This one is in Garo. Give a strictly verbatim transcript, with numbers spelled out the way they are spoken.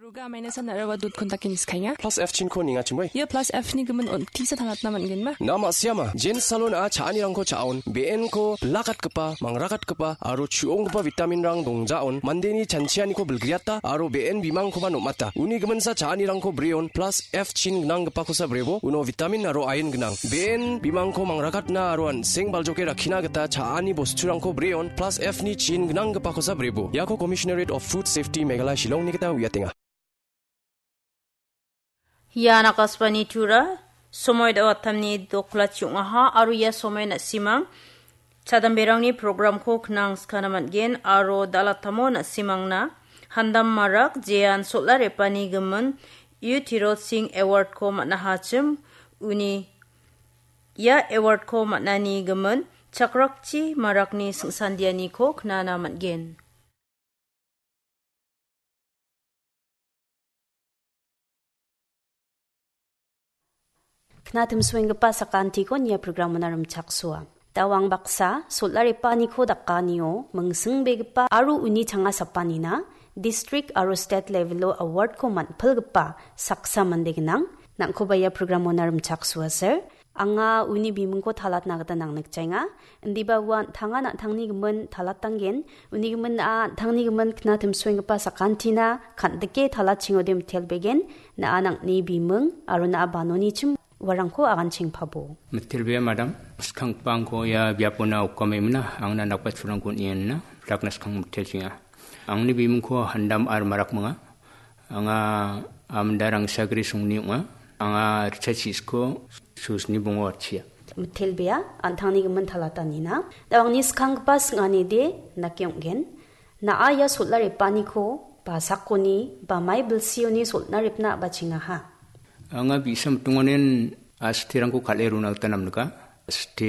Roga maina san araba dot kontak kini skainga. Plus F chinko ninga chimoi. Ia plus F ni gimin on tisa thalatna man gen ma. Na ma siama, Jen Salon a cha·anirangko cha·on, B N ko bilakatgipa, mangrakatgipa, aro chu·onggipa vitamin rang dongjaon, mandeni chanchianiko bilgriata, aro B N bimangkoba nomata. Uni giminsa cha·anirangko breon, plus F chin gnanggipakosa brebo, uno vitamin aro iron gnang. B N bimangko mangrakatna aro an·seng baljoke rakkina gita cha·ani bosturangko breon, plus F ni chin gnanggipakosa brebo. Iako Commissionerate of Food Safety Meghalaya Shillong ni gita uiatenga. Ian Akashvani Tura, somoi da·o atamni doklachi ong·aha, aro ia somoi na·simang chadamberangni programko knang skana man·gen, aro da·latamo na·simangna handam marak jean solar epani gimin U Tirot Singh Award-ko man·ahachim, uni ia award-ko man·ani gimin chakrakchi marakni singsandianiko knana man·gen. Knatimsoenggipa sakantiko nia programona rimchaksoa. Dawang baksa, solar epaniko dakanio mingsingbegipa aro uni changa sapanina district aro state level-o award-ko man·pilgipa saksa mande gnang. Nangkoba ia programona rimchaksoaser. Anga uni bimingko talatna gita nangnikjaenga. Indiba ua an·tanga an·tangni gimin talatanggen. Uni gimin a an·tangni gimin knatimsoenggipa sakantina kan·dike talatchingode mitelbegen. Na·a nang·ni biming aro na·a banonichim uarangko aganchengpabo. Mitelbea madam, skangpangko ia biapona okamemna angna nakpachurangko nienna, dakna skang mitelchenga. Angni bimingko handam ar marak manga. Anga amda rangsagri songni ong·a. Anga richa chisko susni bongo atchia. Mitelbea, an·tangni gimin talatanina. Da angni skanggipa sing·anide nake ong·gen. Na·a ia solar epaniko, basakoni, bamai bilsioni solar epna a·bachengaha. Anga bi·sa mitongonen astirangko kal·e rona gita namnika. Asti